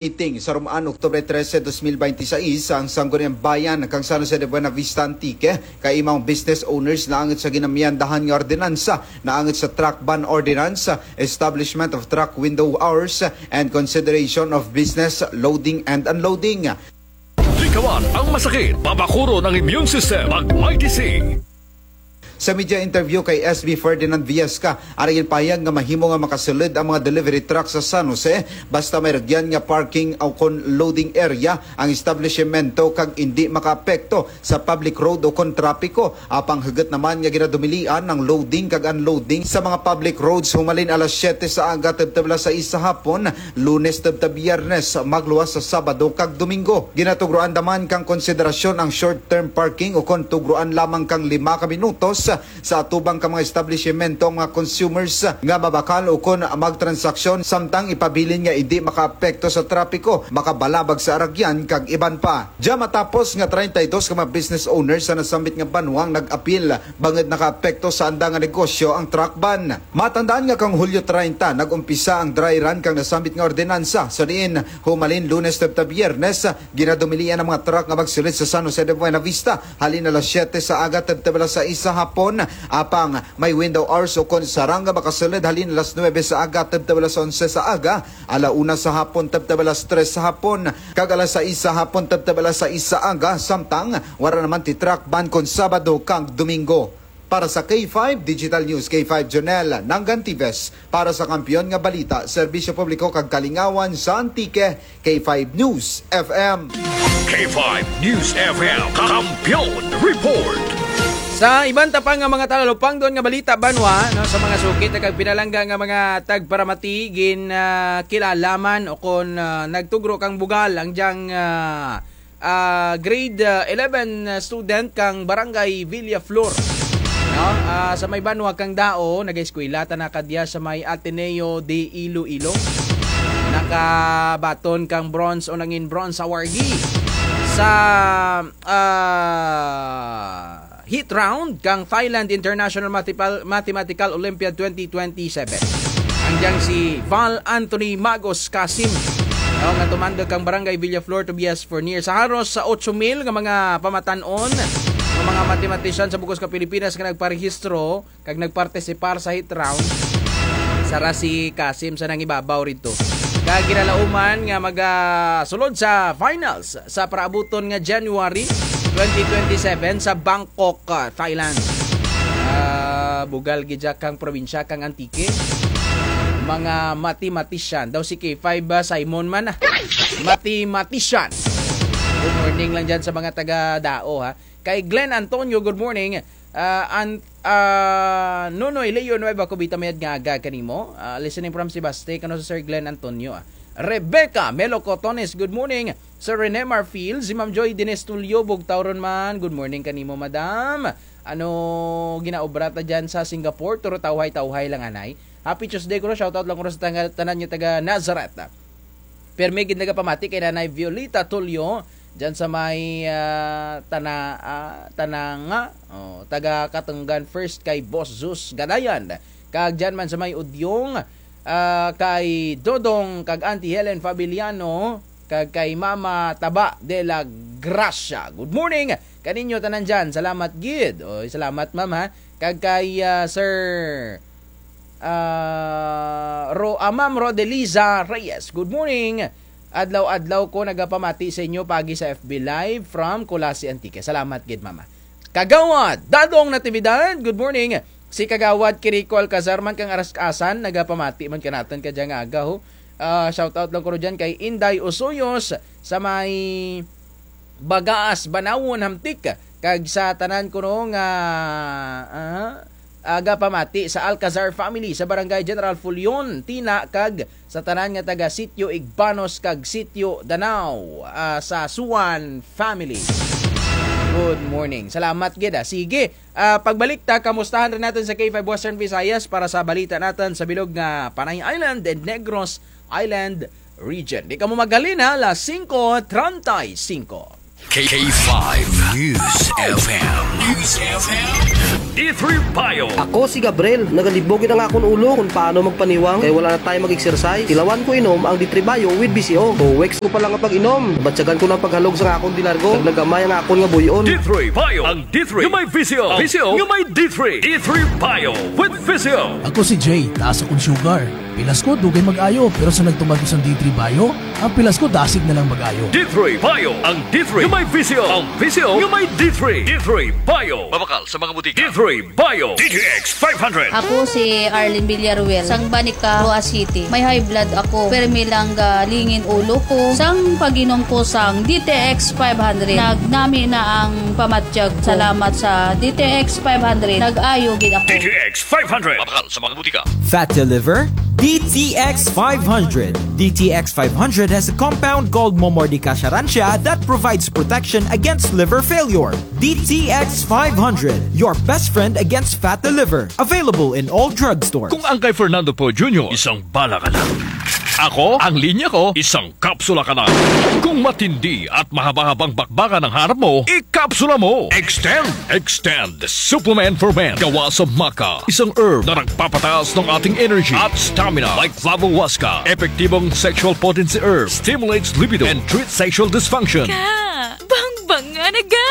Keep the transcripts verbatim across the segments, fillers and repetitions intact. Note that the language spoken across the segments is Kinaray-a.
Meeting sa Romaan, Oktubre trese, dos mil bente y seis, ang Sangguniang Bayan kang San Jose de Buenavista, Antique, kaimaw ang business owners naangot sa ginamiyandahan nga ordinansa naangot sa truck ban ordinance, establishment of truck window hours, and consideration of business loading and unloading. Likawan ang masakit, pabakuron ang immune system, mag Mighty C. Sa media interview kay S B Ferdinand Viesca, ara ginpahayag nga mahimo nga makasulod ang mga delivery truck sa San Jose basta may rugyan nga parking ukon loading area ang establisimento kag indi makaapekto sa public road ukon trapiko. Apang hugot naman nga ginadumilian ang loading kag unloading sa mga public roads humalin alas siyete sa aga tubtob alas sais sa hapon, Lunes tubtob Biyernes, magluwas sa Sabado kag Domingo. Ginatugruan naman kang konsiderasyon ang short-term parking ukon tugruan lamang kang lima ka minutos sa atubang ka mga establisimento ang mga consumers nga mabakal ukon magtransaksyon, samtang ipabilin nga indi makaapekto sa trapiko, makabalabag sa aragyan kag iban pa. Dya matapos nga treinta y dos ka mga business owners sa nasambit nga banwa ang nag-apil bangud nakaapekto sa anda nga negosyo ang truck ban. Matandaan nga kang Hulyo treinta, nag-umpisa ang dry run kang nasambit nga ordinansa. Sa diin, humalin Lunes tubtob Biyernes, ginadumilian ang mga truck nga magsulod sa San Jose de Buenavista halin alas siyete sa aga tubtob alas sais sa hapon. Apang may window hours ukon sarang nga makasulod halin alas nuwebe sa aga tubtob alas onse sa aga, ala una sa hapon tubtob alas tres sa hapon, kag alas sais sa hapon tubtob alas sais sa aga, samtang wara naman ti truck ban kon Sabado kag Domingo. Para sa K five Digital News, K five Jonel Nangantives, para sa Kampiyon nga Balita, Serbisyo Publiko kag Kalingawan sa Antique, K five News F M. K five News F M, Kampiyon Report. Sa iban ta pa nga mga talalupangdon nga balita banwa, no, sa mga suki ta kag pinalangga nga mga tagparamati, gin, ah, kilala man ukon, ah, nagtugro kang bugal ang dyang, ah, ah, grade, ah, eleven student kang Barangay Villaflor. No? Ah, sa may banwa kang Dao, nagaeskwela tana kadya sa may Ateneo de Iloilo. Nakabaton kang bronze o nangin bronze awardee sa, ah, heat round kang Thailand International Matipal-, Mathematical Olympiad twenty twenty-seven. Ang dyang si Val Anthony Magos Kasim. No, nga tumandok kang Barangay Villaflor, Tobias Fornier. Sa haros sa otso mil nga mga pamatan-on, nga mga matematisyan sa bug-os ka Pilipinas nga nagparehistro, kag nagpartisipar sa heat round. Sara si Kasim sa nangibabaw rito. Kag ginalauman nga magasulod sa finals sa paraabuton nga January twenty twenty-seven sa Bangkok, ah, Thailand. Ah, bugal gid dya kang probinsya kang Antique. Mga mathematician. Daw si K five, ah, Simon man, ah. Mathematician. Good morning lang dyan sa mga taga Dao, ha. Kay Glenn Antonio, good morning. Ah, an-, ah, Nonoy Leo Nueva Cubita, mayad nga aga kanimo. Ah, listening from Sebaste, kano sa Sir Glenn Antonio, ah. Rebecca Melo Cotones, good morning. Sir Rene Marfil, si Ma'am Joy Dines Tulio, bugtaw run man, good morning kanimo, madam. Ano ginaobra ta dyan sa Singapore? Turo tawhay-tawhay lang, anay. Happy Tuesday kuno, shoutout lang kuno sa tanga-, tanan nga taga Nazareth. Pirmi gid nagapamati kay Nanay Violeta Tulio, dyan sa may, ah, Tana-, ah, Tananga, oh, taga Katunggan First kay Boss Zeus Gadayan. Kag dyan man sa may Udyong, ah, kay Dodong kag Auntie Helen Fabiliano, kag kay Mama Taba de la Gracia. Good morning kaninyo tanan dyan. Salamat gid. Oy, salamat, ma'am, ha. Kag kay, ah, Sir Ah, Ro-, ah, Ma'am Rodeliza Reyes, good morning. Adlaw-adlaw ko nagapamati sa inyo paagi sa F B Live from Culasi, Antique. Salamat gid, Mama. Kagawad Dadong Natividad, good morning. Si Kagawad Kirico Alcazar man kang Aras-asan, nagapamati man kanatun kadya nga aga, ho. Ah, shout out lang kuno dyan kay Inday Usuyos sa may Bagaas, Banawon, Hamtic. Kag sa tanan kuno nga, ah, agapamati sa Alcazar family sa Barangay General Fullon, Tina, kag sa tanan nga taga Sitio Igbanos kag Sitio Danao, ah, sa Suan family. Good morning. Salamat gid, ah. Sige, ah, pagbalik ta, kamustahan run natun sa K five Western Visayas para sa balita natun sa bilog nga Panay Island and Negros Island region. Di kamo maghalin, ha, alas singko treinta y cinco. K five News F M. News F M. D three Bio. Ako si Gabriel, nagalibog gid ang akon ulo kon paano magpaniwang, kay wala na time mag-exercise. Tilawan ko inom ang D three Bio with V C O. Two weeks ko pa lang nga pag-inom, nabatyagan ko na ang paghalog sa akon delargo, kag nagamay ang akon nga buy-on. D three Bio. Ang D three nga may V C O. V C O nga may D three. D three Bio with V C O. Ako si Jay, taas akon sugar. Pilas ko, dugay mag-ayo, pero sa nagtuman ko sang D three Bio, ang pilas ko, dasig na lang mag-ayo. D three Bio, ang D three nga may V C O, ang V C O nga may D three. D three Bio. Mabakal sa mga butika. D three Bio. D T X five hundred. Ako si Arlene Villaruel, sang Banica, Roxas City. May high blood ako, permi lang galingin ulo ko. Sang pag-inom ko sang D T X five hundred, nagnami na ang pamatyag ko. Salamat sa D T X five hundred, nag-ayo gid ako. D T X five hundred. Mabakal sa mga butika. Fatty liver? D T X five hundred. D T X five hundred has a compound called Momordica charantia that provides protection against liver failure. D T X five hundred, your best friend against fatty liver. Available in all drugstores. Kung ang kay Fernando Poe Junior, isang bala ka na. Ako, ang linya ko, isang kapsula ka na. Kung matindi at mahaba-habang bakbakan ang hanap mo, ikapsula mo. Extend, Extend Supplement for Men. Gawa sa maca, isang herb na nagpapataas ng ating energy at stamina, like flavohuasca. Epektibong sexual potency herb, stimulates libido and treats sexual dysfunction. Ka, bangbanga na ga.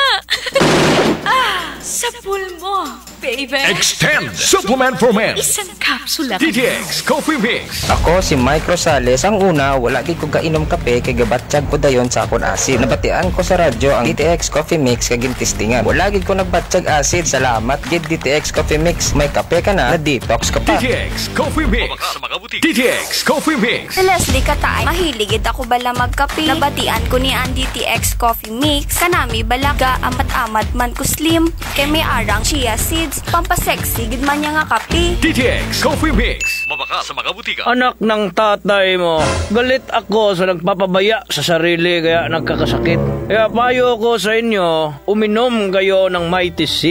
Ah, sapul mo, baby. Extend Supplement for Men. Isang kapsula ka na. D T X Coffee Mix. Ako si Mike Rosales. Ang una, wala gid ko gainom kape kay gabatyag ko dayon sa akon acid. Nabatian ko sa radyo ang D T X Coffee Mix kag gintestingan. Wala gid ko nagbatyag acid. Salamat gid D T X Coffee Mix. May kape ka na, na-detox ka pa. D T X Coffee Mix. D T X Coffee Mix. Si Leslie Kataay, mahilig gid ako bala magkape. Nabatian ko ni ang D T X Coffee Mix. Kanami bala, gaamat-amat man ko slim. Kay may ara ang chia seeds, pampasexy gid man niya nga kape. D T X Coffee Mix. Mabakal sa mga butika. Anak ng tatay mo, galit ako sa nagpapabaya sa sarili kaya nagkakasakit. Kaya payo ko sa inyo, uminom kayo ng Mighty C.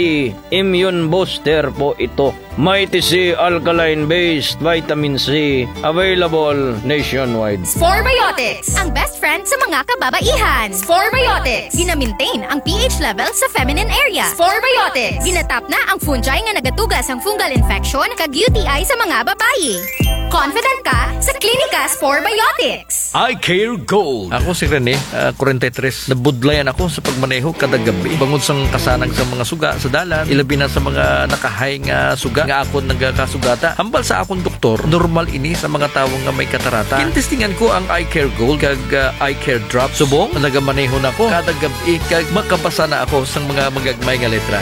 Immune booster po ito. Mighty C alkaline-based vitamin C, available nationwide. Sporebiotics, ang best friend sa mga kababaihan. Sporebiotics, gina-maintain ang pH level sa feminine area. Sporebiotics, ginatap na ang fungi nga nagatuga sang fungal infection kag U T I sa mga babayi. Confident ka sa Clinica Sporebiotics. Eye Care Gold. Ako si Rene, ah, kwarenta y tres. Nabudlayan ako sa pagmaneho kada gab-i. Bangod sang kasanag sa mga suga sa dalan, ilabi na sa mga nakahay nga suga nga akon nagakasugata. Hambal sa akon doktor, normal ini sa mga tawo nga may katarata. Gintestingan ko ang Eye Care Gold kag, ah, Eye Care Drops. Subong, nagamaneho na ko kada gab-i kag makabasa na ako sang mga magagmay nga letra.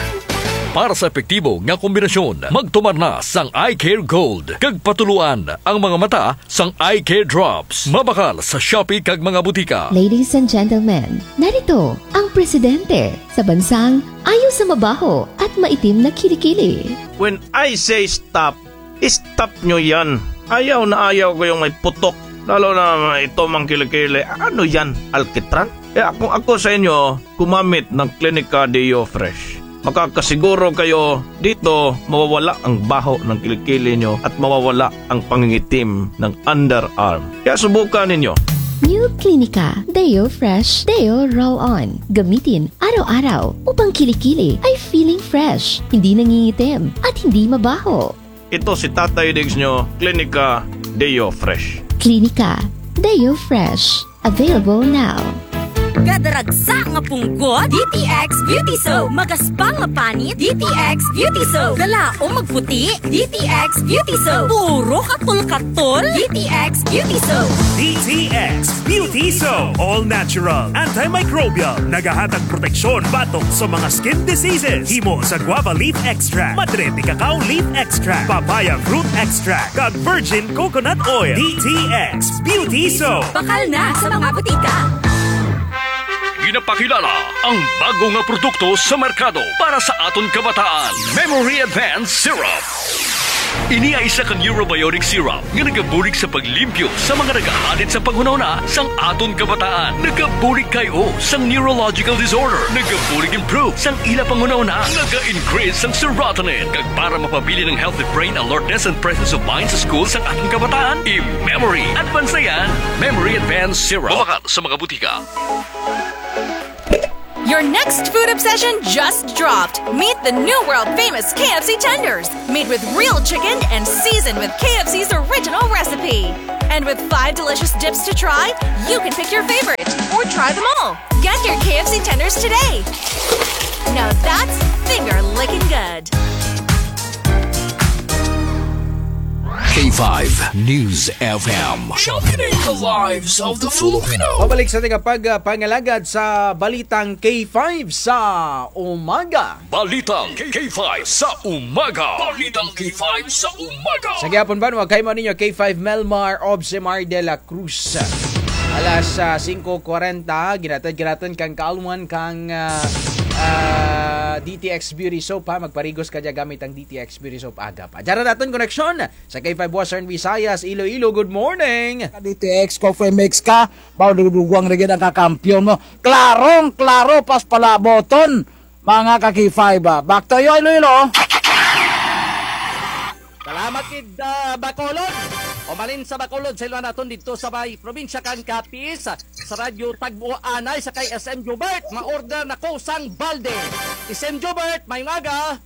Para sa epektibo nga kombinasyon, magtumar na sang Eye Care Gold kag patuloan ang mga mata sang Eye Care Drops. Mabakal sa Shopee kag mga butika. Ladies and gentlemen, narito ang presidente sa bansang ayaw sa mabaho at maitim na kilikili. When I say stop, stop nyo yan. Ayaw na ayaw ko yung may putok. Lalo na ito mang kilikili. Ano yan? Alkitran? Eh, kung ako sa inyo, gumamit ng Clinica Deo Fresh. Makakasiguro kayo dito mawawala ang baho ng kilikili nyo at mawawala ang pangingitim ng underarm. Kaya subukan ninyo. New Clinica Deo Fresh Deo Roll On. Gamitin araw-araw upang kilikili ay feeling fresh, hindi nangingitim, at hindi mabaho. Ito si Tatay Diggs nyo, Clinica Deo Fresh. Clinica Deo Fresh. Available now. Kadaragsa nga punggot, D T X Beauty Soap. Magaspang nga panit, D T X Beauty Soap. Galaom magputi, D T X Beauty Soap. Puro katol-katol, D T X Beauty Soap. D T X Beauty Soap. All natural, antimicrobial. Nagahatag proteksyon batok sa mga skin diseases. Himo sa guava leaf extract, madre de cacao leaf extract, papaya fruit extract, kag virgin coconut oil. D T X Beauty Soap. Bakal na sa mga butika. Ginapakilala ang bago nga produkto sa merkado para sa aton kabataan, Memory Advance Syrup. Ini ay isa ka neurobiotic syrup nga nagabulig sa paglimpyo sa mga nagahadit sa panghunahuna sang aton kabataan. Nagabulig kay-o sang neurological disorder. Nagabulig improve sang ila panghunahuna. Naga-increase sang serotonin. Kag para mapabilin ang healthy brain alertness and presence of mind sa school sang aton kabataan, i-Memory Advance na yan. Memory Advance Syrup. Mabakal sa mga butika. Your next food obsession just dropped. Meet the new world famous K F C tenders, made with real chicken and seasoned with K F C's original recipe. And with five delicious dips to try, you can pick your favorite or try them all. Get your K F C tenders today. Now that's finger licking good. K five News F M. Championing the lives of the Filipino. Pabalik sa ating pag-, ah, pangalagad sa balitang K five sa umaga. Balitang K five sa umaga. Balitang K five sa umaga. Sa gihapon banwa kay amo ninyo K five Melmar Obsemar de la Cruz. Alas, ah, singko kwarenta, ginatad-ginatad kang kaalwan kang, ah, ah, D T X Beauty Soap, ha. Magparigos ka dya gamit ang D T X Beauty Soap, aga pa. Dya ra natun koneksyon sa K five Western Visayas, Iloilo. Good morning. Ka D T X Coffee Mix ka, mao dugdugang rugyan ang kakampiyon mo. Klarong-klaro, pas palaboton. Mga ka-K five, ah. Back to you, Iloilo. Salamat gid, ah, Bacolod. Humalin sa Bacolod, sayloan natun didto sa may probinsya kang Capiz, sa Radyo Tagbo anay sa kay S M Jobert, ma-order na ko sang balde. S M Jobert, mayong aga.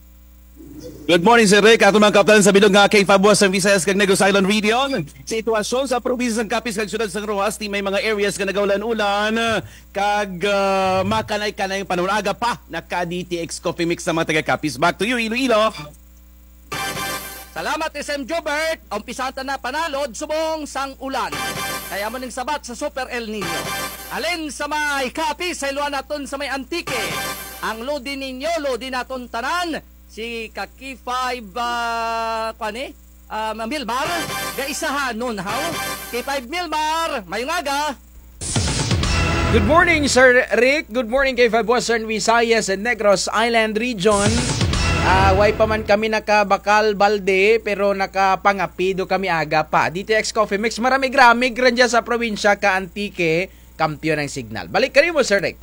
Good morning, Sir Rick. Atun mga kaabtanan sa bilog nga K five Western Visayas kag Negros Island Region. Sitwasyon sa probinsya sang Capiz kag syudad sang Roxas, ti may mga areas nga nagaulan-ulan, kag, ah, makanay-kanay ang panahon. Aga pa, naka-D T X Coffee Mix sa mga taga-Capiz. Back to you, Iloilo. Salamat, S M Jobert. Umpisahan ta na panalod subong sang ulan. Kay amo ning sabat sa Super El Niño. Halin sa may Capiz, sayloan natun sa may Antique. Ang lodi ninyo, lodi natun tanan. Si ka-K five, ah, kuan ni? Ah, Milmar, gaisahanon, haw? K five Milmar, mayong aga. Good morning, Sir Rick. Good morning, K five Western Visayas and Negros Island Region. Ah, way pa man kami nakabakal balde, pero nakapangape daw kami aga pa. D T X Coffee Mix, maramig-ramig run dyan sa probinsya ka Antique, kampiyon ang signal. Balik kanimo, Sir Rick.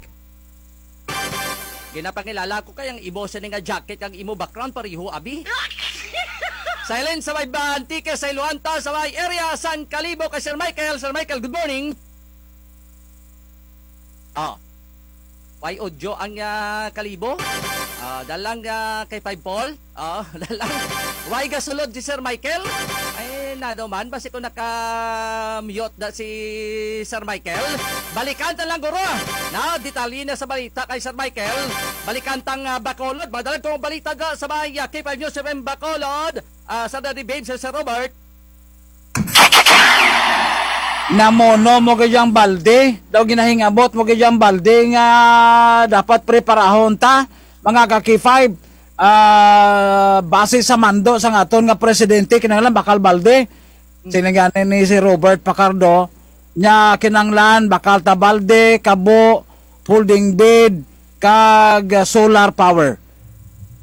Ginapangilala ko kay ang imo sini nga jacket kag imo background pareho, abi. Silent sa may Antique, sayloan ta sa may area sang Kalibo kay Sir Michael. Sir Michael, good morning. Oh. Way audio ang, ah, Kalibo? Ah, dala lang, ah, K five Paul. Oh, dala lang. Way gasulod si Sir Michael? Ay, nano man, basi ko naka-mute da si Sir Michael. Balikan ta lang, guro. Na, detalye na sa balita kay Sir Michael. Balikan tang, ah, Bacolod. Madala tong balita da sa may, ah, K five News F M Bacolod. Ah, sa Daddy Babes, Sir Robert. Namono mo gid dyang balde, daw ginahingabot mo gid dyang balde nga dapat preparahon ta, mga ka-K five, ah, base sa mando sang aton nga presidente, kinahanglan bakal balde. Siling gani ni si Robert Facardo, nya kinahanglan bakal ta balde, kabo, folding bed, kag, ah, solar power.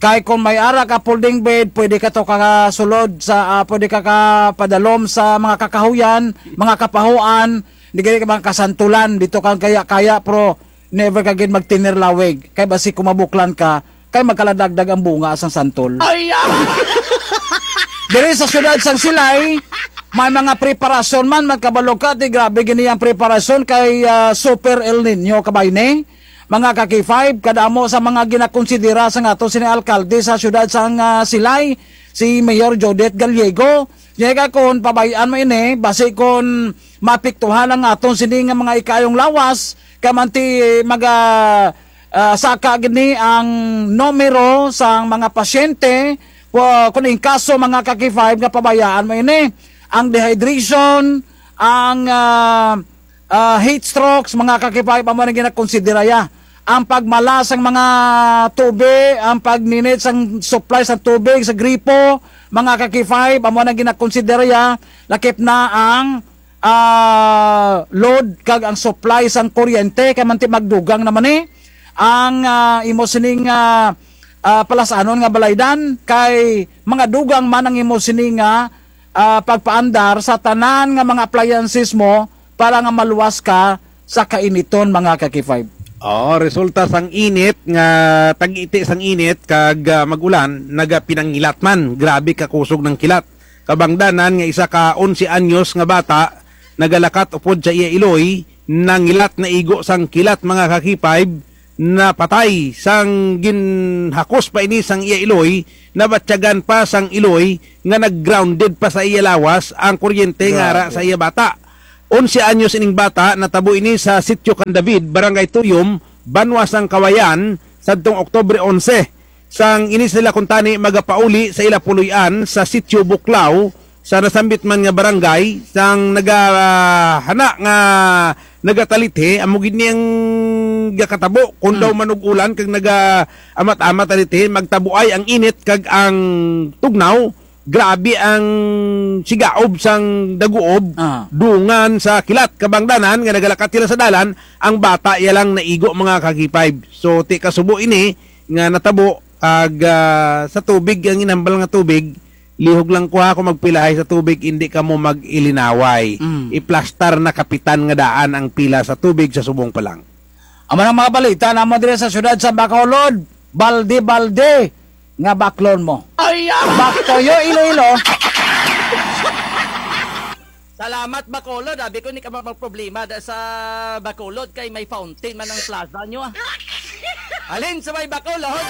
Kay kon may ara ka folding bed, pwede ka to kasulod sa, ah, pwede ka kapadalom sa mga kakahuyan, mga kapahuan, di gani ka mga kasantulan, dito kang kaya-kaya, pero never ka gid magtinir lawig. Kay basi kon mabuklan ka, kay magkaladagdag ang bunga sang santol. Ay, ah! Diri sa siyudad sang Silay, may mga preparasyon man, magkabalo ka, ti grabe gini ang preparasyon kay, ah, Super El Niño, kabayni. Mga ka-K five, kadamo sa mga ginakonsidera sang aton sini alkalde sa siyudad sang, ah, Silay, si Mayor Jodette Gallego. Nya kon pabay-an mo ini, basi kon maapektuhan ang aton sini nga mga ikaayong lawas, kay man ti maga-, ah, saka gini ang numero sang mga pasyente, wa-, kon in kaso mga ka-K five nga pabayaan mo ini, ang dehydration, ang, ah, ah, heat strokes, mga ka-K five, amo nang ginakonsidera ya. Ang pagmala sang mga tubig, ang pagninit sang supply sang tubig sa gripo, mga ka-K five, amo nang ginakonsidera ya, lakip na ang, ah, load kag ang supply sang kuryente, kay man ti magdugang na man ni. Ang, ah, imo sining, ah, ah, palasanon nga balaydan, kay magadugang man ang imo sini nga, ah, pagpaandar sa tanan nga mga appliances mo para nga maluwas ka sa kainiton, mga ka-K five. Oo, resulta sang init nga tag-iti sang init kag, ah, mag-ulan, nagapinangilat man. Grabe ka kusog ng kilat. Kabangdanan nga isa ka onse anyos nga bata, nagalakat upod sa iya iloy, nangilat na igo sang kilat, mga ka-K five, napatay sang ginhakos pa ini sang iya iloy, nabatyagan pa sang iloy nga nag-grounded pa sa iya lawas ang kuryente nga ara sa iya bata. Onse anyos ining bata, natabo ini sa Sitio Can David, Barangay Tuyom, banwa sang Cauayan, sadtong Oktubre onse. Sang ini sila kuntani magapauli sa ila puloy-an sa Sitio Buklao, sa nasambit man nga barangay, sang naga, ah, hana nga nagatalithi, amo gid ni ang gakatabo, kon daw manug-ulan kag nagaamat-amat talithi, magtabuay ang init kag ang tugnaw, grabe ang sigaob sang daguob, dungan sa kilat, kabangdanan nga nagalakat sila sa dalan, ang bata iya lang naigo, mga ka-K five. So, ti kasubo ini nga natabo, ag, ah, sa tubig, ang inhambal nga tubig, lihog lang kuha kon magpilahay sa tubig, indi kamo mag-ilinaway. Iplastar na kapitan nga daan ang pila sa tubig sa subong pa lang. Amo na ang mga balita namon diri sa siyudad sa Bacolod. Balde-balde nga baklon mo. Ay, ah! Back to you, Iloilo. Salamat, Bacolod. Abi ko, indi ka magproblema da sa Bacolod kay may fountain man ang plaza nyo, ah. Halin sa may Bacolod,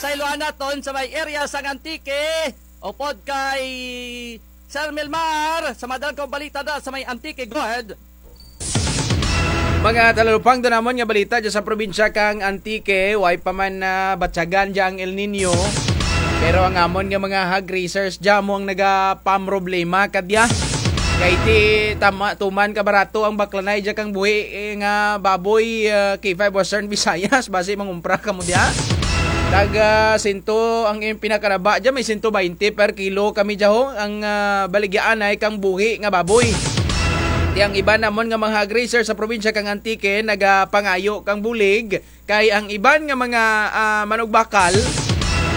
sayloan naton sa may area sang Antique. Upod kay Sir Milmar, sa mga dalagkong balita da sa may Antique. Go ahead. Mga talupangdon namon nga balita dya sa probinsya kang Antique, way pa man nabatyagan dya ang El Niño. Pero ang amon nga mga hog raisers dya amo ang nagapamroblema kadya. Kay ti tama, tuman kabarato ang baklanay dya kang buhi, eh, nga baboy, eh, K five Western Visayas, basi mangumpra kamo dya. Tag, ah, sento ang iyang pinakaraba dya, may sento baynte per kilo kami dya ho, ang, ah, baligyaanay kang buhi nga baboy. Ti ang iban namon nga mga hog raiser sa probinsya kang Antique, nagapangayo kang bulig, kay ang iban nga mga, ah, manugbakal,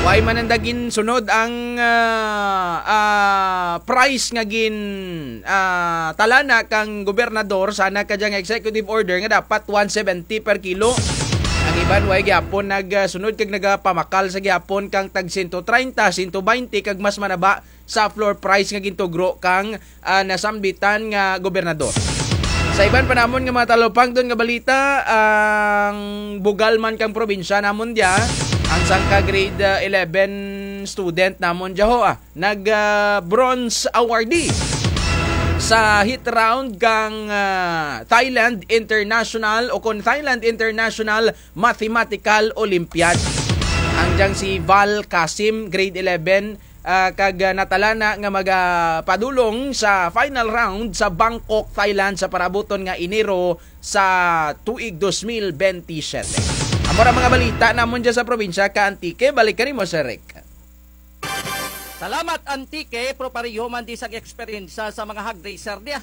way man nanda ginsunod ang, ah, ah, price nga gin, ah, talana kang gobernador, sana kadya nga executive order nga dapat one seventy per kilo. Ang iban way gihapon nagsunod kag nagapamakal sa gihapon kang tag sento treinta, sento baynte kag mas manaba sa floor price nga gintugro kang, ah, nasambitan nga gobernador. Sa iban pa namon nga mga talupangdon nga balita, ang bugal man kang probinsya namon dya, ang sangka grade, ah, eleven student namon dya ho, ah, nag, ah, bronze awardee sa heat round kang, ah, Thailand International o kon Thailand International Mathematical Olympiad. Ang dyang si Val Kasim, grade eleven, ah, kag, ah, natalana nga magapadulong sa final round sa Bangkok, Thailand sa parabuton nga Enero sa tuig dos mil bente siyete. Amo ra mga balita namon dya sa probinsya ka Antique. Balik kanimo, Sir Rick. Salamat, Antique, pero pareho man di sa eksperyensya sa mga hog raiser diya.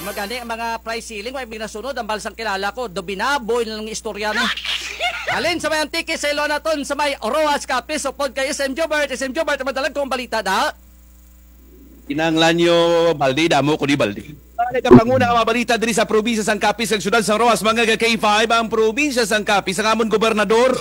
Magani ang mga price ceiling, way binasunod, ang balsang kilala ko, do binaboy na lang istorya ni. Halin sa may Antique, sayloan naton sa may Roxas, Capiz, upod kay S M Jobert, S M Jobert, madalagkong balita da. Kinahanglan nyo balde, damo ko di balde. Mga nagapanguna nga mga balita diri sa probinsya sang Capiz, sa siyudad sang Roxas, mga ka-K five, ang probinsya sang Capiz, ang amon gobernador,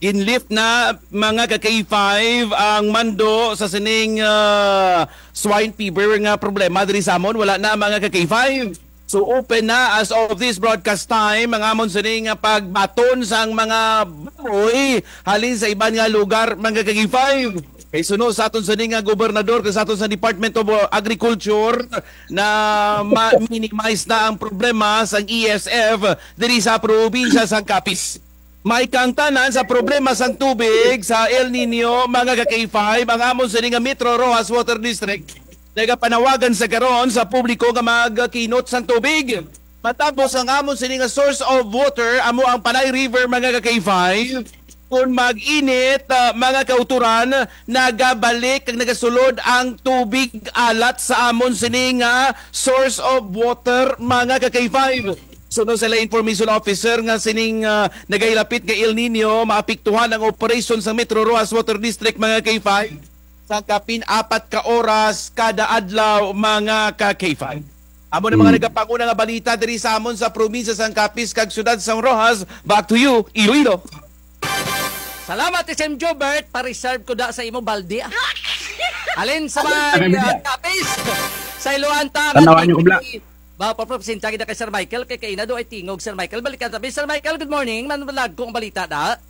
ginlift na, mga ka-K five, ang mando sa sining, ah, swine fever nga problema diri sa amon, wala na, mga ka-K five. So, open na as of this broadcast time ang amon sining nga pagbaton sang mga baboy halin sa iban nga lugar, mga ka-K five. Kay suno sa aton sining nga gobernador, kay sa aton sa Department of Agriculture, na ma-minimize na ang problema sang E S F diri sa probinsya sang Capiz. May kaangtanan sa problema sang tubig sa El Niño, mga ka-K five, ang amon sining nga Metro Roxas Water District. Nagapanawagan sa karon sa publiko nga magkinot sang tubig. Matapos ang amon sining nga source of water, amo ang Panay River, mga ka-K five. Kon mag-init, ah, mga kauturan, nagabalik kag nagasulod ang tubig alat sa amon sining nga source of water, mga ka-K five. Suno sa ila information officer nga sining, ah, nagahilapit nga El Niño, maapektuhan ang operasyon sa Metro Roxas Water District, mga K five, sa kapin apat ka oras kada adlaw, mga ka-K five. Amo na mga nagapanguna nga balita diri sa amon sa probinsya sang Capiz kag siyudad sang Roxas. Back to you, Iloilo. Salamat, S M Jobert. Pa-reserve ko da sa imo balde, ah. Halin sa may, ah, Capiz. Sayloan ta ang Tanawan niyo, kubla. Mapapresenta kita kay Sir Michael, kay kaina daw hay tingog, Sir Michael. Balikan ta bi, Sir Michael, good morning. Madalagko ang balita da.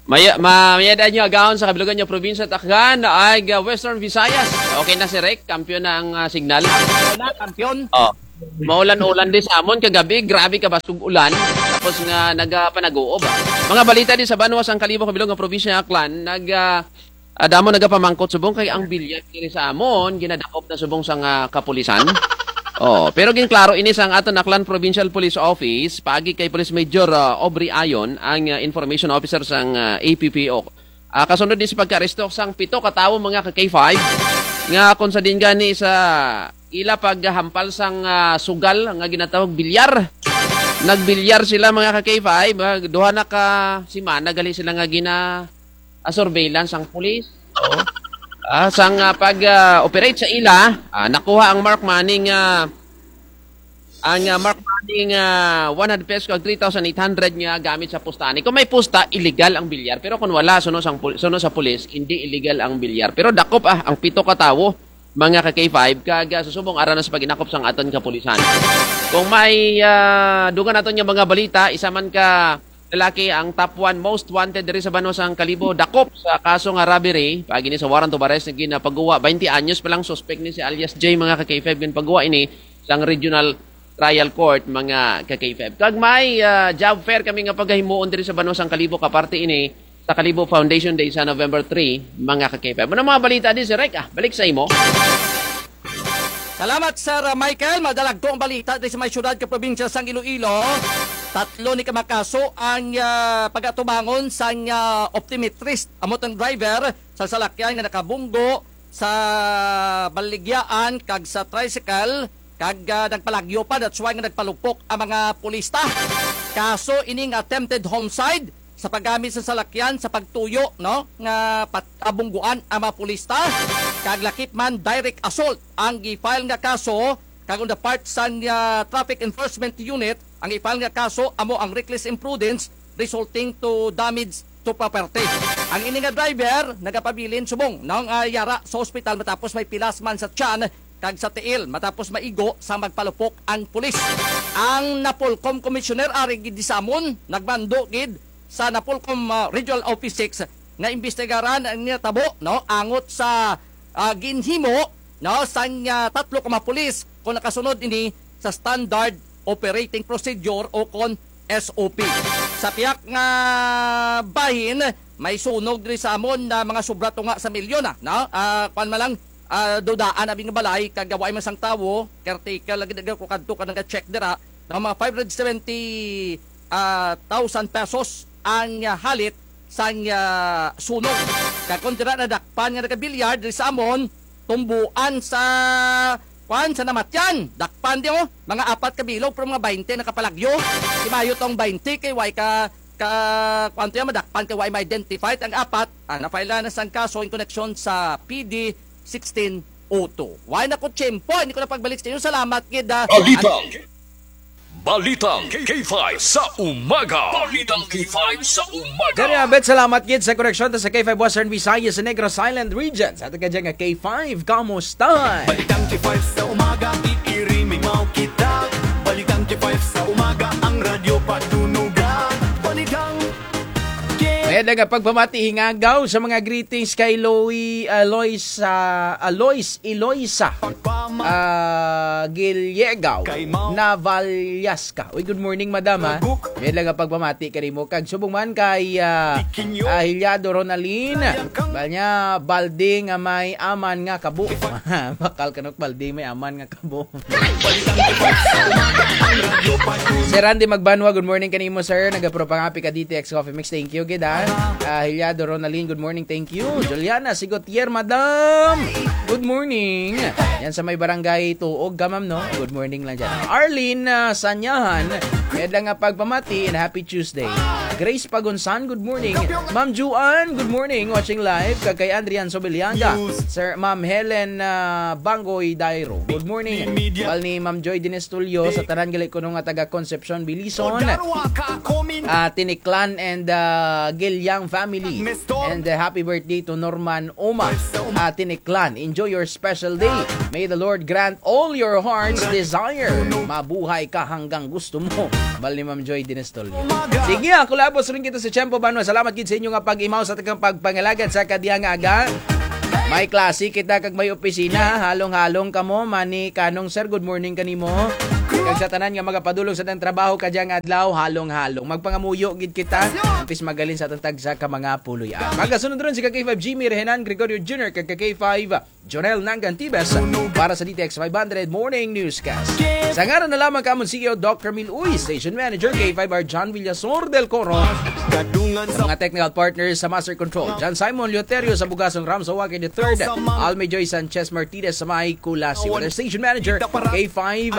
Maya, ma, mayad-an nyo agahon sa kabilugan nga probinsya ta kang, ah, Western Visayas. Okay na si Rek, kampiyon na ang, ah, signal. Wala, kampiyon. Oh. Maulan-ulan diri sa amon kagabi, grabe kabasog ulan. Tapos nga nagapanag-uob, ah. Mga balita diri sa banwa sang Kalibo, kabilog nga probinsya nga Aklan, nag, ah, ah, damo nagapamangkot subong kay ang bilyar diri sa amon, ginadakop na subong sang kapulisan. Oh, pero ginklaro ini sang aton Aklan Provincial Police Office, paagi kay Police Major, ah, Aubrey Ayon, ang, ah, information officer sang, ah, A P P O. Ah, kasunod ni sa pagkaaresto sang pito ka tawo, mga ka K five, nga kon sa diin gani sa ila paghampal sang, ah, sugal nga ginatawag bilyar. Nagbilyar sila, mga ka K five, ah, duha na ka semana gali sila nga gina, ah, surveillance sang pulis. Oo. Ah, sang, ah, pag, ah, operate sa ila, ah, nakuha ang marked money nga ang, ah, marked money nga one hundred pesos kag three thousand eight hundred nga gamit sa pusta ani. Kon may pusta, illegal ang bilyar. Pero kon wala, suno sang pul-, suno sa pulis, indi illegal ang bilyar. Pero dakop, ah, ang pito ka tawo, mga ka K five, kag, ah, susubong ara na sa pag-inakop sang aton kapulisan. Kon may, ah, dungan naton nga mga balita, isa man ka lalaki ang top one most wanted diri sa banwa sang Kalibo, dakop sa kaso nga robbery. Paagi ni sa warrant of arrest nga ginpaguwa, baynte anyos pa lang suspek ni si alias J, mga ka K five, ginpaguwa ini sang Regional Trial Court, mga ka K five. Kag may, ah, job fair kami nga pagahimuon diri sa banwa sang Kalibo, kaparte ini sa Kalibo Foundation Day sa November three, mga ka K five. Ano mga balita di, Sir Rek? Ah, balik sa imo. Salamat, Sir Michael. Madalagko ang balita diri sa may syudad kag probinsya sang Iloilo. Tatlo ni ka mga kaso ang, ah, pagatubangon sang, ah, optometrist. Amo tong driver sa salakyan nga nakabunggo sa baligyaan kag sa tricycle, kag, ah, nagpalagyo pa, that's why nga nagpalupok ang mga pulista. Kaso ini nga attempted homicide sa paggamit sa salakyan sa pagtuyo, no, nga pat-, ah, bungguan ang mga pulista, kag lakip man direct assault ang gi-file nga kaso, kag on the part sang, ah, Traffic Enforcement Unit, ang i-file nga kaso amo ang reckless imprudence resulting to damage to property. Ang ini nga driver nagapabilin subong, no, nga yara sa ospital matapos may pilas man sa tiyan kag sa tiil matapos maigo sa magpalupok ang pulis. Ang Napolcom Commissioner ari gid sa amon nagmando gid sa Napolcom, ah, Regional Office six nga imbestigaran ang natabo, no, angot sa, ah, ginhimo, no, sang, ah, tatlo ka mga pulis kon nakasunod ini sa standard operating procedure o kon S O P. Sa pihak nga bahin, may sunog diri sa amon nga mga sobra tunga sa milyon na, no? Ah, kuwan man lang, ah, dudaan abi nga balay, kag wara man sang tawo, caretaker lagi, daghan ko kadto ka naga-check dira, no? Mga five hundred seventy, ah, thousand pesos ang, ah, halit sang, ah, sunog. Kag kon dira nadakpan nga nagabilyar diri sa amon, tumboan sa, kuwan, sa namatyan. Dakpan di, oh, mga apat ka bilog, pero mga baynte nakapalagyo. Ti mayo tong baynte kay wara ka, ka, kuwan to ya, madakpan kay wara ma-identify. Ang apat, ah, na-file na sang kaso in connection sa P D sixteen oh two. Wara na ko tiyempo, indi ko na pagbalik sa inyo. Salamat gid, ah, Balitang Balitang K five sa umaga. Balitang K five sa umaga. Diri, Abet, salamat gid sa koreksyon ta sa K five Western Visayas, sa Negros Island Region. Sa aton kadya nga K five, kamusta? Balitang K five sa umaga, iiri mi maw kita. Balitang K five sa umaga, ang radyo patunugan. Balitang K Mayad nga pagpamati, hingagaw sa mga greetings kay Loy, ah, Lois, ah, Alois Eloisa. Ah, Giliegaw Navallasca. Uy, good morning, madam, ha. Mayad lang nga pagpamati kanimo. Kag subong man kay, ah, ah, Hilyado Ronalyn. Bahul niya, balde nga may aman nga kabo. Bakal kanok balde may aman nga kabo. Sir Randy Magbanwa, good morning kanimo, sir. Nagapropang happy ka D T X Coffee Mix. Thank you gid, ha. Ah, Hilyado Ronalyn, good morning. Thank you. Juliana Sigotier, madam. Good morning. Yan sa may barangay Tuog ka, ma'am, no? Good morning lang dyan. Arlene, ah, Sanyahan, mayad lang nga pagpamati and happy Tuesday. Grace Pagunsan, good morning. Ma'am Juan, good morning. Watching live. Kag kay Andrian Sobiliaga. Sir, Ma'am Helen, ah, Bangoy Dairo, good morning. Bal ni Ma'am Joy Dinestulio, sa tanan gali kuno nga taga Concepcion, Belison. Ah, Tiniklan and, ah, Gilyang family. And, ah, happy birthday to Norman Oma. Ah, Tiniklan, enjoy your special day. May the Lord grant all your heart's desire. Mabuhay ka hanggang gusto mo. Bal ni Ma'am Joy Dinestulio. Sige, ah, kulabos run kita sa tiyempo, banwa. Salamat gid sa inyo nga pag-imaw sa atun pagpangalagad sa kadya nga aga. May klase kita kag may opisina, halong-halong kamo, Mani Kanong, sir, good morning kanimo. Kag sa tanan nga magapadulong sa atun trabaho kadyang adlaw, halong-halong. Magpangamuyo gid kita, ampis mahalin sa atun tagsa ka mga puloy-an. Magasunod run si ka K five Jimmy Rehenan, Gregorio Junior, kag ka K five Jonel Nangantibes para sa D T X five hundred Morning Newscast. Sa ngaran na lamang kamo C E O Doc Ramil Uy, Station Manager K five R John Villasor del Coro, sa mga technical partners sa Master Control, John Simon Leoterio sa Bugasong, Ram Sawaki the third, Almi Joy Sanchez Martinez sa may Culasi, with our Station Manager K five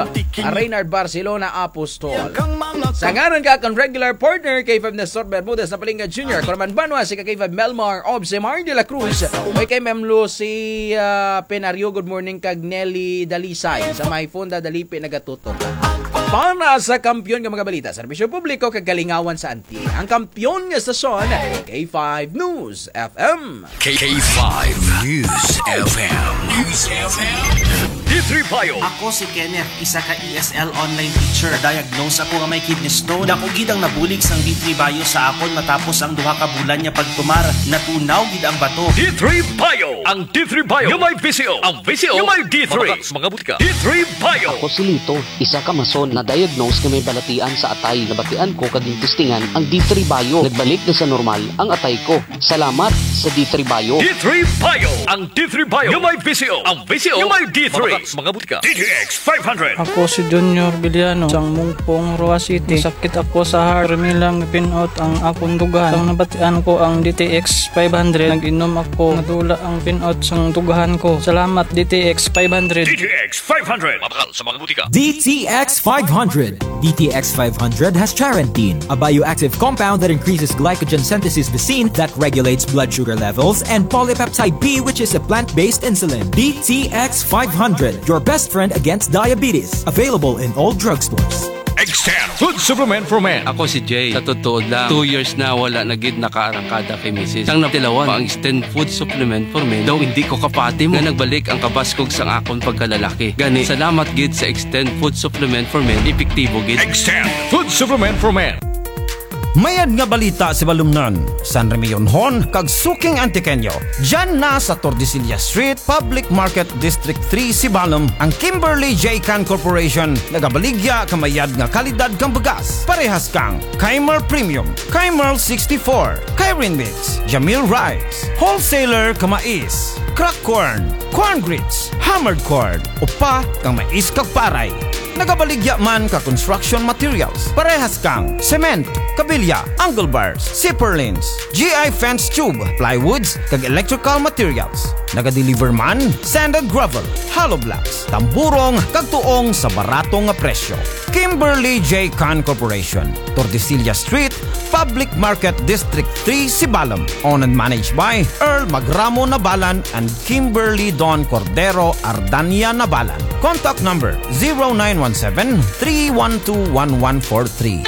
Reynard Barcelona Apostol. Sa ngaran ka kang regular partner K five Nestor Bermudez na Palinga Junior, Corman Banwa, si ka K five Melmar Obsemar de la Cruz, K M Lucy, ah, Penario, good morning, kag Nelly Dalisay sa may Fonda Dalipe nagatutok. Para sa kampiyon nga mga balita, serbisyo publiko kag kalingawan sa Antique, ang kampiyon nga estasyon, K five News F M. K five News F M. News F M. D three Bio. Ako si Kenneth, isa ka E S L online teacher. Na-diagnose ako nga may kidney stone. Dako gid ang nabulig sang D three Bio sa akon matapos ang duha ka bulan nga pagtumar. Natunaw gid ang bato. D three Bio. Ang D three Bio nga may V C O. Ang V C O nga may D three. Mabakal sa mga butika. D three Bio. Ako si Lito, isa ka mason, na-diagnose nga may balatian sa atay. Nabatian ko kag gintistingan ang D three Bio. Nagbalik na sa normal ang atay ko. Salamat sa D three Bio. D three Bio. Ang D three Bio nga may V C O. Ang V C O nga may D three. Mabakal sa mga butika. D T X five hundred. Ako si Junior Villano, sang Mungpong, Roxas City. Sakit ako sa heart. Permi lang pin-ot ang akon dughan. Sang nabatian ko ang D T X five hundred, nag-inom ako. Nadula ang pin-ot sang dughan ko. Salamat, D T X five hundred. D T X five hundred. Mabakal sa mga butika. D T X five hundred. D T X five hundred has charantine, a bioactive compound that increases glycogen synthesis, glycine, that regulates blood sugar levels, and polypeptide B, which is a plant-based insulin. D T X five hundred, your best friend against diabetes. Available in all drugstores. Extend Food Supplement for Men. Ako si Jay. Sa totoo lang, two years na wala na gid nakaarangkada kay misis. Sang natilawan pa ang Extend Food Supplement for Men, daw indi ko kapati mo nga nagbalik ang kabaskog sang akon pagkalalaki. Gani, salamat gid sa Extend Food Supplement for Men, epektibo gid. Extend Food Supplement for Men. Mayad nga balita, Sibalomnon, San Remillionon, kag suking Antiqueño. Dyan na sa Tordesillas Street, Public Market, District three, Sibalom, ang Kimberly J Can Corporation, nagabaligya ka mayad nga kalidad kang bugas. Parehas kang Kaimer Premium, Kaimer sixty-four, Kairin Mix, Jamil Rice, Wholesaler ka mais, crack corn, corn grits, hammered corn, upa kang mais kag paray. Nagabaligya man ka construction materials, parehas kang cement, kabilya, angle bars, zipper lines, G I fence tube, plywoods, kag electrical materials. Nagadeliver man sand and gravel, hollow blocks, tamburong, kag tuong sa barato nga presyo. Kimberly J Can Corporation, Tordesillas Street, Public Market, District three, Sibalom. Owned and managed by Earl Magramo Nabalan and Kimberly Don Cordero Ardania Nabalan. Contact number zero nine one seven, three one two, one one four three.